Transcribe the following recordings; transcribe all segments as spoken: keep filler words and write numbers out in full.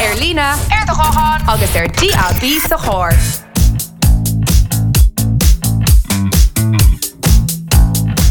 Ar líne, ar do ghuthán agus ar DAB sa charr.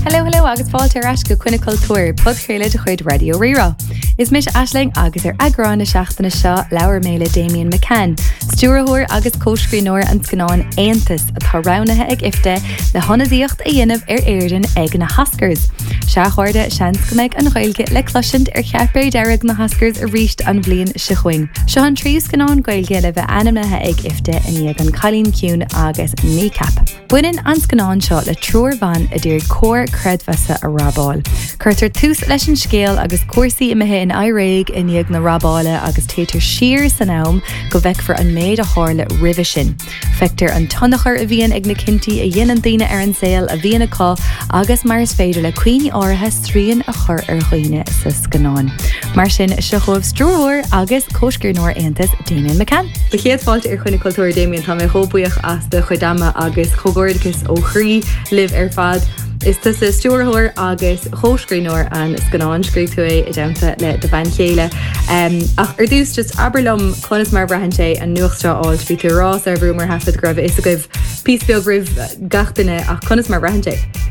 Hello hello agus fáilte ar ais go Coinne Cultúir, podchraoladh de chuid Raidió Rí-Rá. Is mise Aisling agus ar eagrán na seachtaine seo labhair mé le Damian McCann, stiúrthóir agus comhscríbhneoir an scannáin Aontas atá roghnaithe ag IFTA le hionadaíocht a dhéanamh ar Éirinn ag na hOscars. Sea a chairde, seans go mbeidh an Ghaeilge le cloisint ar chairpéad dearg na hOscars arís an bhliain seo chugainn. Seo an tríú scannán Gaeilge le bheith ainmnithe ag IFTA i ndiaidh An Cailín Ciúin agus Kneecap. Baineann an scannán seo le triúr ban a d'iarraidh comhar creidmheasa a robáil. Cuirtear tús leis an scéal agus cúrsaí imithe in aimhréidh i ndiaidh na robála agus téitear siar san am go bhfeicfear an méid a tharla roimhe sin. Feictear an tionchar a bhíonn ag na cinntí a dhéanann daoine ar an saol a bhíonn acu agus mar is féidir le cuimhní áirithe srian a chur ar dhaoine sa scannán. Mar sin seo chugaibh stiúrthóir agus comhscríbhneoir Aontas Damian McCann. Ba chéad fáilte ar Choinne Cultúir Damian tá mé chomh buíoch as do chuid ama agus comhghairdeachas ó chroí libh ar fad. Is tusa stiúrthóir agus comhscríbhneoir an scannáin scríobh tú é i dteannta le do bhean chéile. Um, ach ar dtús just abair liom conas mar a bhraitheann sé an nuacht seo a fháil bhí tú ag rá sar a bhrú ar thaifead go raibh a fhios agaibh píosa beag roimh gach duine ach conas mar a bhraitheann sé.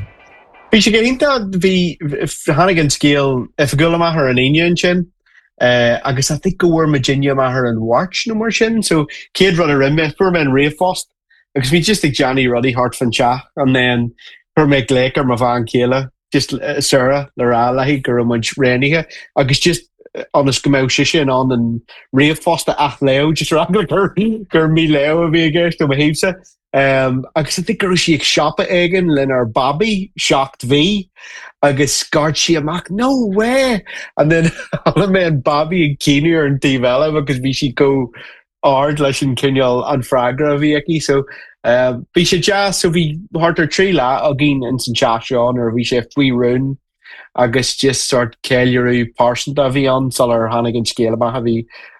Bhí sé go hiontach bhí tháinig an scéal oifigiúil amach ar an Aoine ansin. Uh, agus I think go bhfuair muidinne amach ar an Mháirt nó mar sin, so céad rud a rinne mé fuair mé an ríomhphost agus bhí just ag déanamh rudaí thart fan teach and then chuir mé glaoch ar mo bhean chéile just uh, Sarah le rá léi go raibh muid roghnaithe agus just ionas go mbeadh sise in ann an ríomhphost a athléamh just rá gur gur míléamh a bhí i gceist ó mo thaobhsa. Um, agus I think go raibh sí ag siopa éigin lenár babaí seacht mhí agus scairt sí amach no way and then chuala mé an babaí ag caoineadh ar an taobh eile agus bhí sí chomh ard leis an cineál an freagra a bhí aici so um, bhí sé deas so bhí thart ar trí lá againn in san teach seo nuair a bhí sé faoi rún agus just sort ceiliúradh pearsanta a bhí ann sular tháinig an scéal amach a bhí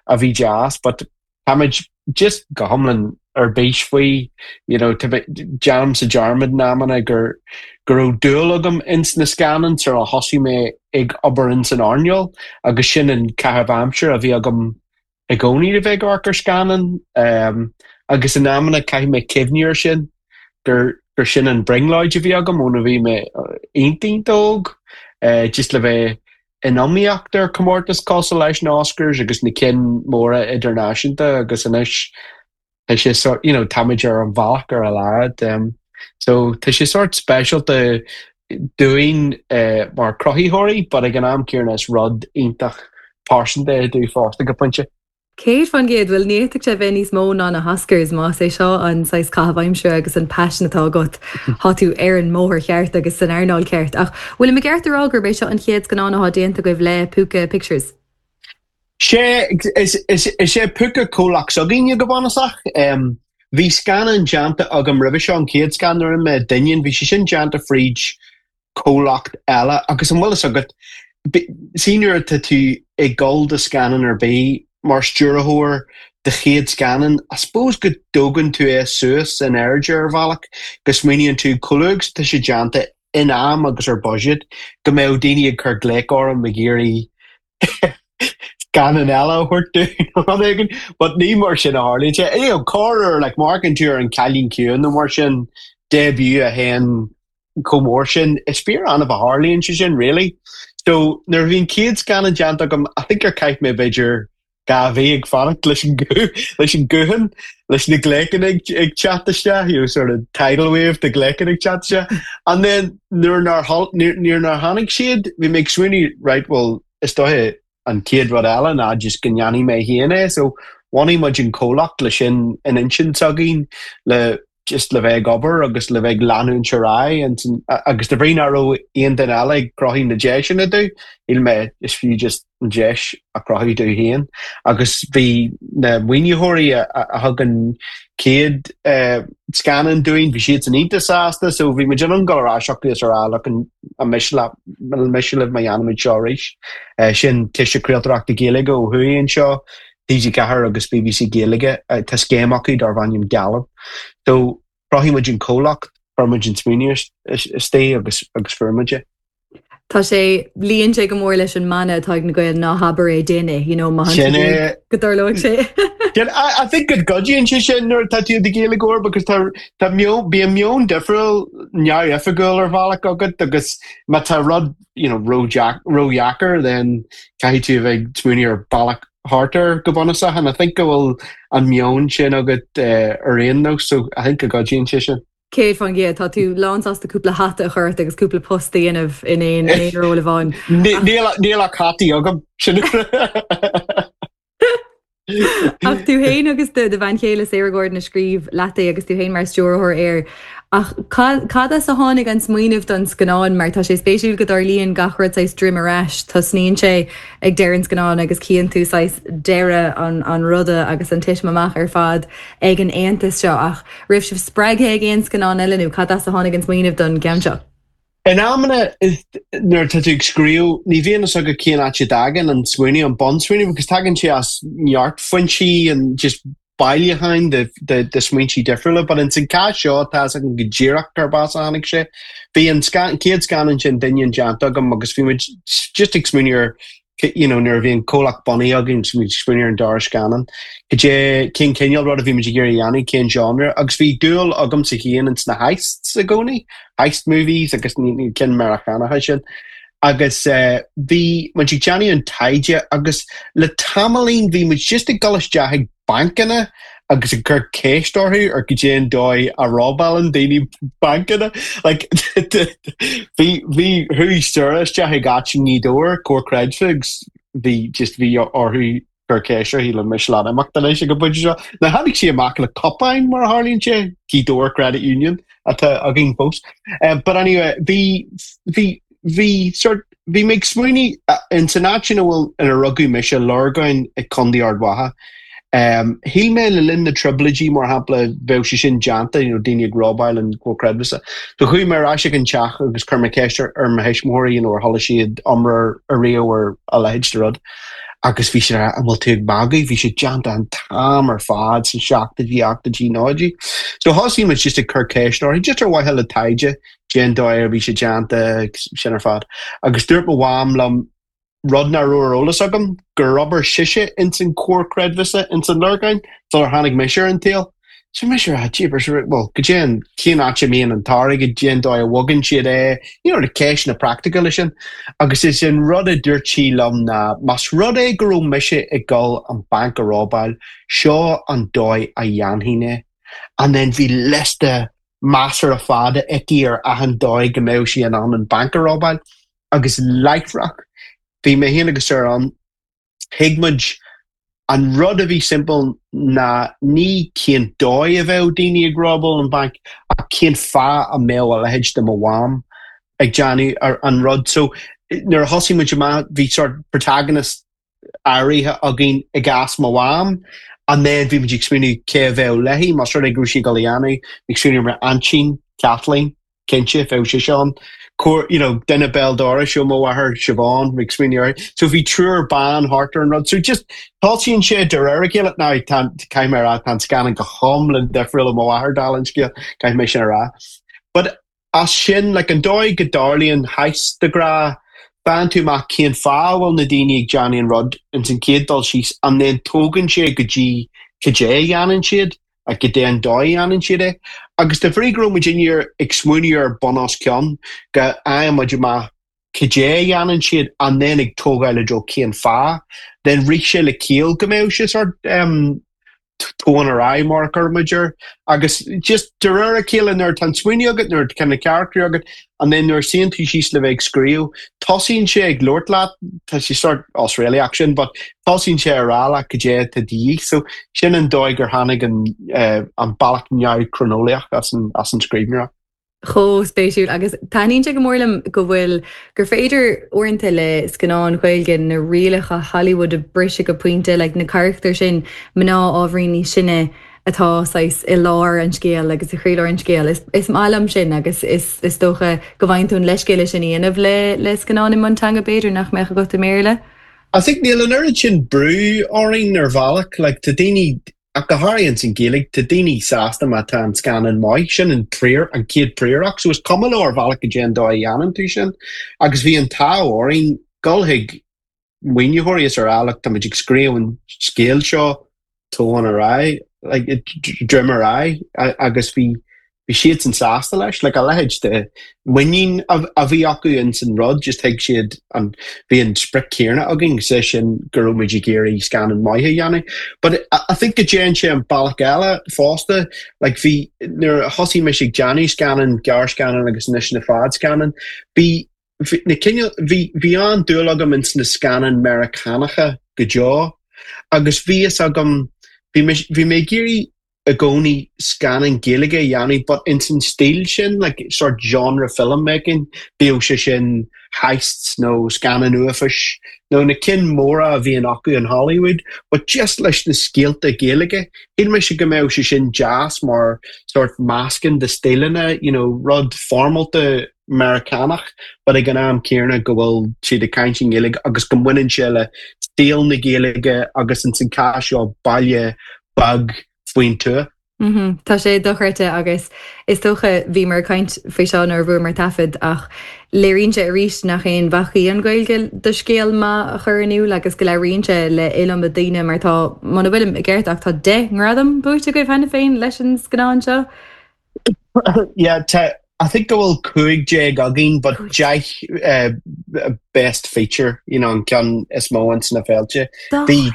a bhí deas, but táimid just go hiomlán ar bís faoi you know, déanaimse dearmad in amanna gur go raibh dúil agam ins na scannáin sar a thosaigh mé ag obair ins an earnáil agus sin an caitheamh aimsire a bhí agam i gcónaí a bheith ag amharc ar scannán um, agus in amanna caithfidh mé cuimhneamh air sin gur gur sin an brionglóid a bhí agam óna bhí mé iontach óg uh, just le bheith in iomaíocht ar comórtas cosúil leis na Oscars agus na cinn móra idirnáisiúnta agus anois tá sé sort you know, táimid ar an bhealach ar a laghad um, so tá sé sort speisialta dúinn uh, mar chruthaitheoirí, but ag an am céanna is rud iontach pearsanta é dúinn fosta go pointe. Céad faoin gcéad bhuel ní fhéadfadh sé bheith níos mó ná na hOscars más é seo an saghas caitheamh aimsire agus an passion atá agat tá tú ar an mbóthar ceart agus san earnáil ceart. Ach bhfuil mé ceart a rá gurb é seo an chéad scannán atá déanta agaibh le Púca Pictures. Sé is is is é Púca comhlacht s'againne go bunúsach. Um, bhí scannán déanta agam roimhe seo an chéad scannán a rinne mé Doineann, bhí sé sin déanta fríd comhlacht eile agus an bhfuil fhios agat see nuair atá tú ag dul do scannán ar bith mar stiúrthóir do chéad scannán, I suppose go dtógann tú é suas in airde ar bhealach, go smaoiníonn tú chomh luath agus tá sé déanta in am agus ar budget, go mbeadh daoine ag cur glaoch orm ag iarraidh scannán eile a thabhairt dúinn nó rud éigin, but ní mar sin a tharlaíonn sé. You know, corruair like, má amharcann tú ar an Cailín Ciúin nó mar sin debut a théann chomh mór sin, is fíor annamh a tharlaíonn sé sin, really. So nuair a bhí an chéad scannán déanta agam, I think gur chaith mé b'fhéidir dhá mhí ag fanacht leis an leis an guthán leis na glaochanna ag ag teacht isteach, you know, sort of tidal wave de glaochanna ag teacht isteach. And then nuair nár nuair nár tháinig siad, bhí mé ag smaoineamh, right, well, is dóiche an chéad rud eile ná just go ndéanfaidh mé féin é. So bhunaigh muid an comhlacht le sin in intinn s'againn le just le bheith ag obair agus le bheith ag leanúint ar aghaidh agus de bhrí nach raibh aon duine eile ag cruthú na deiseanna domh, shíl mé is fiú just an deis a chruthú domh féin. Agus bhí na maoinitheoirí a thug an chéad scannán dúinn, bhí siad san iontach sásta, so bhí muid in ann dul ar ais chucu is a rá look an miste miste libh má dhéanaimid seo arís. Sin Ciste Craoltóireachta Gaeilge ó thuaidh anseo, TG Ceathair agus BBC Gaeilge, tá scéim acu darb ainm Gaillimh. So chruthaigh muid an comhlacht, chuir muid an smaoineamh istigh agus agus fuair muid é. Tá sé luíonn sé go mór leis an mana atá ag na Gaeil ná habair é déan é you know, má Sin é. go dtarlóidh sé. I, I think go gcuidíonn sé sin nuair atá tú i do Ghaeilgeoir because tá tá meon bíonn meon difriúil neamhoifigiúil ar bhealach agat agus má tá rud you know, ródheacair then caithfidh tú a bheith ag smaoineamh ar bealach thart air go bunúsach and I think go bhfuil an meon sin agat uh, ar aon nós so I think go gcuidíonn sé sin. Céad faoin gcéad tá tú lánsásta cúpla hata a chur ort agus cúpla post a dhéanamh in aon aon ról amháin. Níl ach hataí agam sin. Ach tú féin agus do bhean chéile Sarah Gordon a scríobh leat é agus tú féin mar stiúrthóir air. Ach cad as a tháinig an smaoineamh don scannán mar tá sé spéisiúil go dtarlaíonn gach rud saghas droim ar ais, tosnaíonn sé ag deireadh an scannáin agus cíonn tú saghas deireadh an, an ruda agus an titim amach ar fad ag an aontas seo ach raibh sibh spreagtha ag aon scannán eile nó cad as a tháinig an smaoineamh don gceann seo. In amanna nuair atá tú ag scríobh ní bhíonn a fhios agat cén áit a dtagann an smaoineamh an bunsmaoineamh agus tagann sé as neart foinsí and just bailiúcháin de, de, de smaointe difriúla, but in san cás seo tá agam go díreach cárb as a tháinig sé. Bhí an chéad scannán sin Duinnín déanta agam agus bhí muid just ag smaoineamh ar you know, nuair a bhí an comhlacht bunaithe againn bhí muid smaoineamh ar an dara scannán. Cad cén cineál rud a bhí muid ag iarraidh a dhéanamh cén genre, agus bhí dúil agamsa féin ins na heists i gcónaí, heist movies agus ní cinn Meiriceánacha sin. Agus uh, bhí muid ag déanamh an taighde agus le tamaillín bhí muid just ag dul isteach ag bancanna agus ag cur ceist orthu ar cad é an dóigh a robálann daoine bancanna like bhí bhí chuaigh Sarah isteach ag áit i nGaoth Dobhair Comhar Creidmheasa bhí just bhí orthu cur ceist uirthi le mis le imeacht anois ag an bpointe seo. Na tháinig sí amach le cupán mar a tharlaíonn sé Gaoth Dobhair Credit Union atá againn fós. Um, but anyway, bhí bhí bhí sort bhí mé ag smaoineamh in san áit ina bhfuil ina rugadh mise Lorgáin ag Contae Ard Mhacha. Um, Shíl mé le linn na trioblóidí mar shampla bheadh sé sin déanta you know, daoine ag robáil an Comhar Creidmheasa. So chuaigh mé ar ais ag an teach agus chuir mé ceist ar mo thuismitheoirí you know, ar chuala siad iomrá ariamh ar a leithéid de rud. Agus bhí sé an bhfuil tú ag magadh, bhí sé déanta an t-am ar fad sa seachtóidí ochtóidí nóchaidí. So thosaigh muid just ag cur ceist orthu just ar mhaithe le taighde cén dóigh a bhí sé déanta sin ar fad. Agus dúirt mo mham liom rud nach raibh ar eolas agam gur oibir sise ins an Comhar Creidmheasa ins an Lorgáin sular tháinig mise ar an tsaol. So mise rá jeepers well go dtéann cén áit a mbíonn an t-airgead cén dóigh a bhogann siad é, you know, na ceisteanna practical sin. Agus is an rud a dúirt sí liom ná más rud é go raibh mise ag dul an banc a robáil, seo an dóigh a dhéanfainn é. And then bhí liosta measartha fada aici ar achan dóigh go mbeadh sí in ann an banc a robáil agus láithreach bhí mé féin agus Sarah ann thuig muid an rud a bhí simple ná ní cén dóigh a bheadh daoine ag robáil an banc ach cén fáth a mbeadh a leithéid de mo mham ag déanamh an rud. So nuair a thosaigh muid amach bhí sort protagonist áirithe againn i gcás mo mham, and then bhí muid ag smaoineamh cé a bheadh léi más rud é go raibh sí ag dul a dhéanamh, ag smaoineamh mar aintín Kathleen cinnte bheadh sé sin. Cóir you know, duine béal dorais ó mo mháthair Siobhán ag smaoineamh uirthi. So bhí triúr ban thart ar an rud. So just tosaíonn sé de réir a chéile now caithfidh mé a rá tá an scannán go hiomlán difriúil ó mo mháthair dála an scéil caithfidh mé sin a rá. But as sin like an dóigh go dtarlaíonn heist de ghnáth faigheann tú amach cén fáth a bhfuil na daoine ag déanamh an rud ins an chéad dul síos and then tógann sé go dtí cad é a dhéanann siad a go dté an dóigh a dhéanann siad é. Agus de bhrí go raibh muid inniu ag smaoineamh ar bun os cionn go fhaigheann muid amach cad é a dhéanann siad and then ag tógáil i dtreo cén fáth, then rith sé le ciall go mbeadh sé sort um, tóin ar aghaidh mar a chuir muid air. Agus just de réir a chéile nuair tá an smaoineamh agat nuair tá na carachtair agat and then nuair suíonn tú síos le bheith ag scríobh, tosaíonn sé ag labhairt leat, tá sé sort osréalaíoch sin, but tosaíonn sé ar rá leat cad é atá de dhíth. So sin an dóigh gur tháinig an, uh, an bealach neamh-chroineolaíoch as an, as an scríbhneoireacht. Chomh spéisiúil agus taitníonn sé go mór liom go bhfuil gur féidir uaireanta le scannáin Ghaeilge na rialacha Hollywood a bhriseadh go pointe like, na carachtair sin mná ábhairín níos sine atá saghas i lár an scéil agus i gcroílár an scéil. Is, is maith liom sin agus is, is dócha go bhfaigheann tú an leithscéal sin a dhéanamh le le scannán i mionteanga b'fhéidir nach mbeadh agat i mBéarla. I think níl an oiread sin brú orainn ar bhealach, like, tá daoine Ach go háirithe ins an Ghaeilge, tá daoine sásta má tá an scannán maith, sin an prior, an chéad príoracht, so is cuma leo ar bhealach goidé an dóigh a dhéanann tú sin. Agus bhí an t-ádh orainn dul chuig maoinitheoirí is a rá, look, tá muid ag scríobh an scéal seo, tóin ar aghaidh, like, droim ar aghaidh, agus bhí bhí siadsan sásta leis, like a leithéid de muinín a bhí acu ins an rud, just thuig siad an, bhí an sprioc céanna againn, sé sin go raibh muid ag iarraidh scannán maith a dhéanamh. But I think go dtéann sé an bealach eile fosta, like bhí, nuair a thosaigh mise ag déanamh scannán, gearrscannán agus anois na fadscannán, bhí, bhí na cineál, bhí, bhí an-dúil agam ins na scannáin Meiriceánacha go deo agus bhí fhios agam, bhí mé, bhí mé ag iarraidh i gcónaí scannán Gaeilge a dhéanamh but ins an stíl sin, like sort genre film making, bíodh sé sin heists nó scannán uafáis nó na cinn móra a bhíonn acu in Hollywood, but just leis na scéalta Gaeilge. Shíl mise go mbeadh sé sin deas mar sort meascán de stíleanna, you know, rud foirmeálta Meiriceánach but ag an am céanna go bhfuil siad ag caint i nGaeilge agus go mbaineann sé le stíl na Gaeilge agus ins an cás seo baile beag faoin tuath. Tá sé dochreidte agus is dócha bhíomar ag caint faoi seo nuair a bhuamar taifead ach léiríonn sé arís nach aon bhac í an Ghaeilge do scéal maith a chur in iúl agus go labhraíonn sé le iliomad daoine mar tá muna bhfuilim i gceart ach tá deich ngradam buaite agaibh cheana féin leis an scannán seo. Yeah, tá I think go bhfuil cúig déag againn but deich uh, best feature, you know, an ceann is mó ins na féilte. Bhí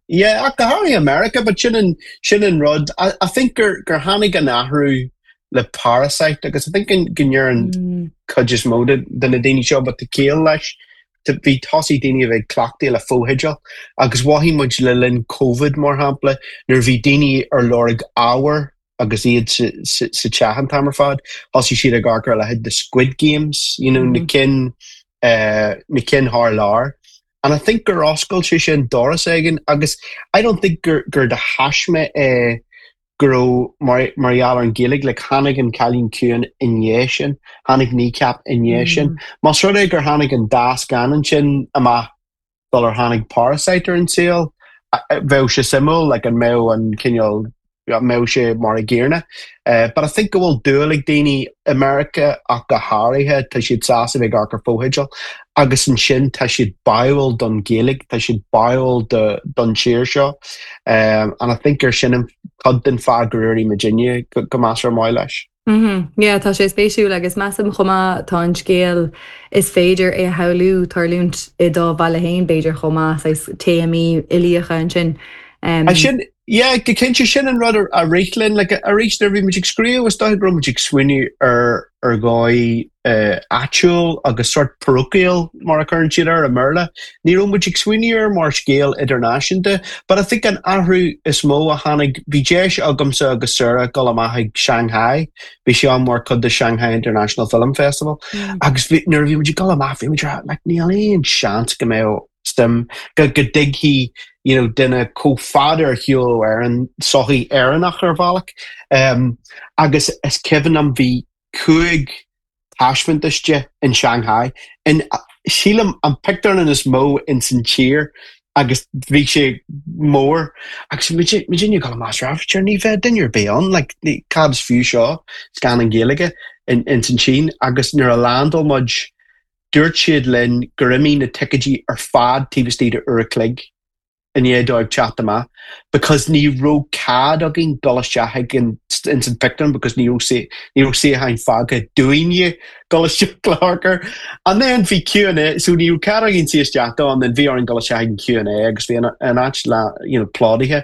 yeah, ach go háirithe America, but sin an sin an rud. I, I think gur gur tháinig an athrú le Parasite agus I think go ndeireann Mm. cuid is mó de de na daoine seo but tá ciall leis bhí tosaí daoine a bheith cleachtaithe le fotheidil agus mhothaigh muid le linn COVID mar shampla nuair bhí daoine ar lorg ábhar agus iad sa sa sa teach an t-am ar fad, thosaigh siad ag amharc ar leithéid the Squid Games, you know, na cinn uh, na cinn thar lear. And I think gur oscail sé sin doras éigin agus I don't think gur gur de thaisme é go raibh mar mar gheall ar an Ghaeilge le tháinig an Cailín Ciúin i ndiaidh sin, tháinig Kneecap i ndiaidh sin. Más rud é gur tháinig an dá scannán sin amach sular tháinig Parasite ar an saol, bheadh sé suimiúil like an mbeadh an cineál mbeadh sé mar an gcéanna. Uh, but I think go bhfuil dúil ag daoine America ach go háirithe tá siad sásta bheith ag amharc ar fotheidil agus ansin tá siad báúil don Ghaeilge, tá siad báúil don tír seo. Um, and I think gur sin an cuid den fáth gur éirigh muidinne go, go measartha maith leis. Mm Yeah, tá sé spéisiúil agus measaim chomh maith tá an scéal is féidir é a shamhlú tarlúint i do bhaile féin b'fhéidir chomh maith téamaí uilíocha ansin. Um, sin yeah, go cinnte sin an rud a rith linn like, arís nuair bhí muid ag scríobh is dóigh go raibh muid ag smaoineamh ar ar dhóigh uh, áitiúil agus sort parochial mar a chuireann siad ar i mBéarla. Ní raibh muid ag smaoineamh ar mar scéal idirnáisiúnta, but I think an athrú is mó a tháinig bhí deis agamsa agus Sarah dul amach ag Shanghai, bhí sé an mar chuid de Shanghai International Film Festival. Mm. agus bhí- nuair a bhí muid ag dul amach bhí muid rá, like, níl aon seans go mbeadh suim go go dtuigfidh you know, duine chomh fada ar shiúl ar an sochaí Éireannach ar bhealach. Um, agus is cuimhin liom bhí cúig taispeántas de in Shanghai. In sílim an pictiúrlann is mó in san tír agus bhí sé mór agus muidinne ag amach ní bheidh duine ar bith ann, like, ní- cad is fiú seo scannán Gaeilge in, in san Sín agus nuair a landáil muid dúirt siad linn gur imigh na ticéidí ar fad taobh istigh de uair a chloig i ndiaidh dóibh teacht amach because ní raibh cead againn dul isteach ag an in san pictiúrlann because ní raibh sé ní raibh suíocháin fágtha dúinne dul isteach le hamharc air. And then bhí Q and A so ní raibh cead againn suí isteach dó and then bhí orainn dul isteach ag an Q and A agus bhí an, an áit le you know, plódaithe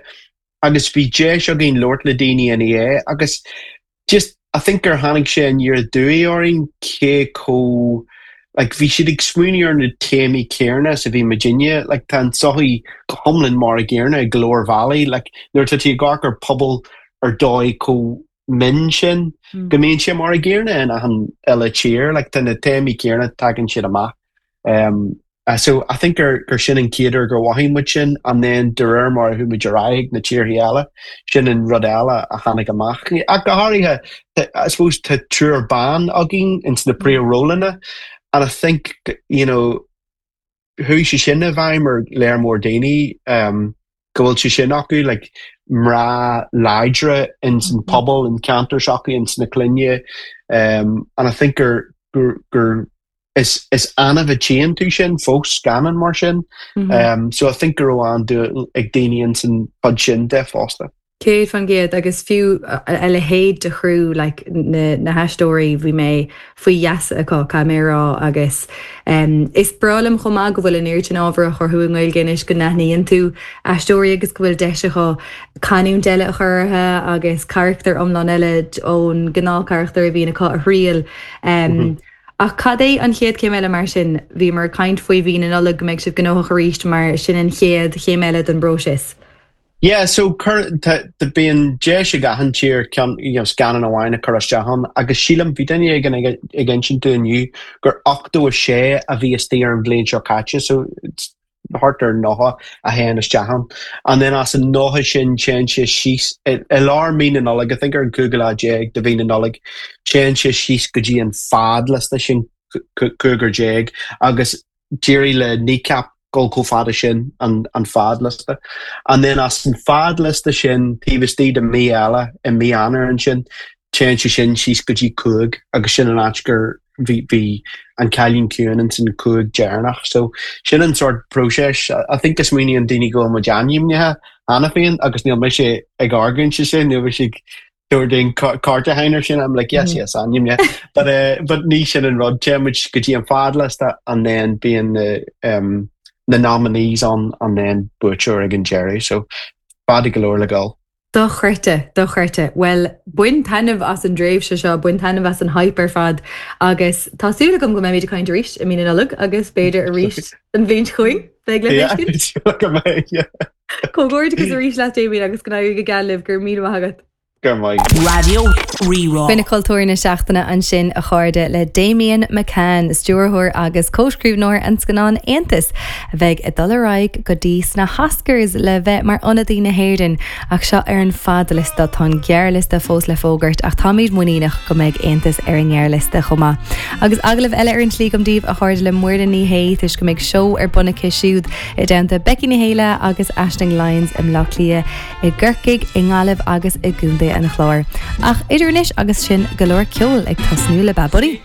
agus bhí deis againn labhairt le daoine ina dhiaidh agus just I think gur tháinig sé aniar aduaidh orainn cé chomh like bhí siad ag smaoineamh ar na téamaí céanna is a bhí muidinne like tá an tsochaí go hiomlán mar an gcéanna i go leor bealaí like nuair atá tú ag amharc ar pobal ar dóigh chomh mion sin Mm. go mbíonn sé mar an gcéanna in achan uile tír like tá na téamaí céanna tagann siad amach um, uh, so I think gur gur sin an chéad uair gur mhothaigh muid sin and then de réir mar a chuaigh muid ar aghaidh na tíortha eile sin an rud eile a tháinig amach ach go háirithe I suppose tá triúr ban againn ins na príomhrólanna and I think you know chuaigh sé sin i bhfeidhm ar lear mór daoine um, go bhfuil sé sin acu like mná láidre in san pobal in ceantar s'acu in sna clainne um, and I think gur gur gur is is annamh a tchíonn tú sin fós scannán mar sin mm -hmm. um, so I think go raibh an-dúil ag daoine in san chuid sin de fosta. Céad faoin gcéad agus fiú a leithéid de chriú like, na, na haisteoirí bhí mé faoi gheasa acu caithfidh mé a rá agus um, is breá liom chomh maith go bhfuil an oiread sin ábhar á chruthú i nGaeilge anois go n-aithníonn tú aisteoirí agus go bhfuil deis acu canúint eile a chur orthu agus carachtar iomlán eile ón ngnáthcharachtar a bhíonn acu a thriail. Um, mm -hmm. Ach cad é an chéad chéim eile mar sin bhíomar ag caint faoi mhí na Nollag go mbeidh sibh gnóthach arís mar sin an chéad chéim eile den bpróiseas. Yeah, so bíonn deis ag achan tír ceann you know, scannán amháin a chur isteach ann agus sílim bhí duine éigin ag ag insint dom inniu gur ochtó a sé a bhí istigh ar an bhliain seo caite so thart ar nócha a théann isteach ann. And then as an nócha sin téann sé síos i lár mí na Nollag, I think ar an cúigiú lá déag de mhí na Nollag, téann sé síos go dtí an fadliosta sin cúigear déag agus d'éirigh le Kneecap dul chomh fada sin an, an fadliosta. And then as an fadliosta sin taobh istigh de mí eile i mí Eanáir ansin, téann sé sin síos go dtí cúig agus sin an áit gur bhí bhí an Cailín Ciúin in san cúig deireanach. So sin an sort próiseas. I think go smaoiníonn daoine go bhfuil muid ainmnithe cheana féin agus níl mise ag argóint sin, níl mise ag dúin cárta hainer sin I'm like yes mm. yes ainmnithe but uh, but ní sin an rud téann muid go dtí an fadliosta and then bíonn na um, na nominees ann and then buaiteoir ag an deireadh so fada go leor le dul. Dochreidte, dochreidte. Well, bain taitneamh as an dtréimhse seo, bain taitneamh as an hype ar fad agus tá súil agam go mbeimid ag caint arís i mí na Nollag agus b'fhéidir arís an bhliain seo chugainn beidh le Comhghairdeas arís leat Damien agus go n-éirí go geal libh go raibh míle maith agat. Go maith. Raidió Rí-Rá. Coinne Cultúir na seachtaine ansin a chairde le Damien McCann, stiúrthóir agus cóscríbhneoir an scannáin Aontas, a bheidh ag dul ar aghaidh go dtí sna hOscars le bheith mar ionadaí na hÉireann ach seo ar an fadliosta tá an gearrliosta fós le fógairt ach táimid muiníneach go mbeidh Aontas ar an ngearrliosta chomh maith. Agus agallamh eile ar an tslí agam daoibh a chairde le Muireann Ní Shé toisc go mbeidh seó ar bun aici siúd i dteannta Becky Ní Shéaghdha agus Aisling Lyons i mBleá Cliath i gCorcaigh i nGaillimh agus i gContae an Chláir. Ach idir anois agus sin go leor ceoil ag tosnú le Bad Bunny.